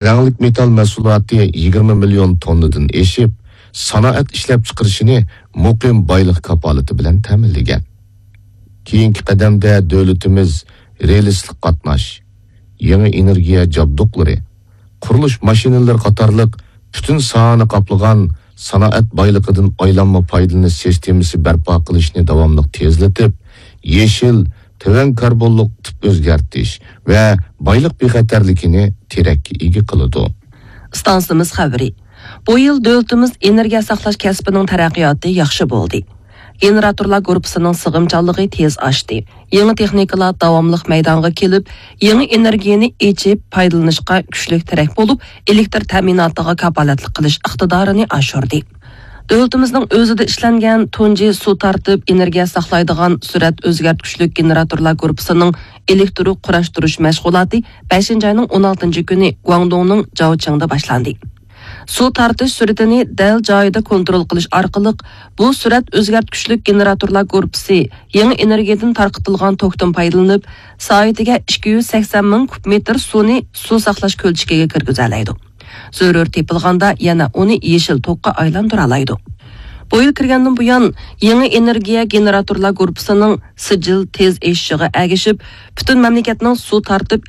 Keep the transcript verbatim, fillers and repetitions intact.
رەڭلىك مېتال مەھسۇلاتى يىگىرمە مىليون توننىدىن ئېشىپ، سانائەت ئىشلەپچىقىرىشىنى مۇقىم بايلىق كاپالىتى بىلەن تەمىنلىگەن. كېيىنكى قەدەمدە دۆلىتىمىز رېلىسلىق قاتناش، يېڭى ئېنېرگىيە جابدۇقلىرى، قۇرۇلۇش ماشىنىلىرى قاتارلىق پۈتۈن ساھەنى قاپلىغان سانائەت بايلىقىدىن ئايلانما پايدىلىنىش سىستېمىسى بەرپا قىلىشنى داۋاملىق تېزلىتىپ، يېشىل، تۆۋەن كاربونلۇق تىپ ئۆزگەرتىش ۋە بايلىق بىخەتەرلىكىنى تىرەككە ئىگە قىلىدۇ. ئىستانسىمىز خەۋىرى. بۇ يىل دۆلىتىمىز ئېنېرگىيە ساقلاش كەسپىنىڭ تەرەققىياتى ياخشى بولدى. گېنېراتورلار گۇرۇپپىسىنىڭ سىغىمچانلىقى تېز ئاشتى. يېڭى تېخنىكىلار داۋاملىق مەيدانغا كېلىپ، يېڭى ئېنېرگىيەنى ئېچىپ پايدىلىنىشقا كۈچلۈك تىرەك بولۇپ، ئېلېكتر تەمىناتىغا كاپالەتلىك قىلىش ئىقتىدارىنى ئاشۇردى. دۆلىتىمىزنىڭ ئۆزىدە ئىشلەنگەن تۇنجى سۇ تارتىپ ئېنېرگىيە ساقلايدىغان سۈرئەت ئۆزگەرتكۈچلۈك گېنېراتورلار گۇرۇپپىسىنىڭ ئېلېكتىر قۇراشتۇرۇش مەشغۇلاتى بەشىنچى ئاينىڭ ئون ئالتىنچى كۈنى گۇاڭدۇڭنىڭ جاۋچىڭدا باشلاندى. سۇ تارتىش سۈرئىتىنى دەل جايىدا كونترول قىلىش ئارقىلىق، بۇ سۈرئەت ئۆزگەرتكۈچلۈك گېنېراتورلار گۇرۇپپىسى يېڭى ئېنېرگىيەدىن تارقىتىلغان توكتىن پايدىلىنىپ، سائىتىگە ئىككى يۈز سەكسەن مىڭ كۇب مېتىر سۇنى سۇ ساقلاش كۆلچىكىگە كىرگۈزەلەيدۇ. زۆرۈر تېپىلغاندا يەنە ئۇنى يېشىل توكقا ئايلاندۇرالايدۇ. بۇ يىل كىرگەندىن بۇيان، يېڭى ئېنېرگىيە گېنېراتورلار گۇرۇپپىسىنىڭ سىجىل تېز ئېشىشىغا ئەگىشىپ، پۈتۈن مەملىكەتنىڭ سۇ تارتىپ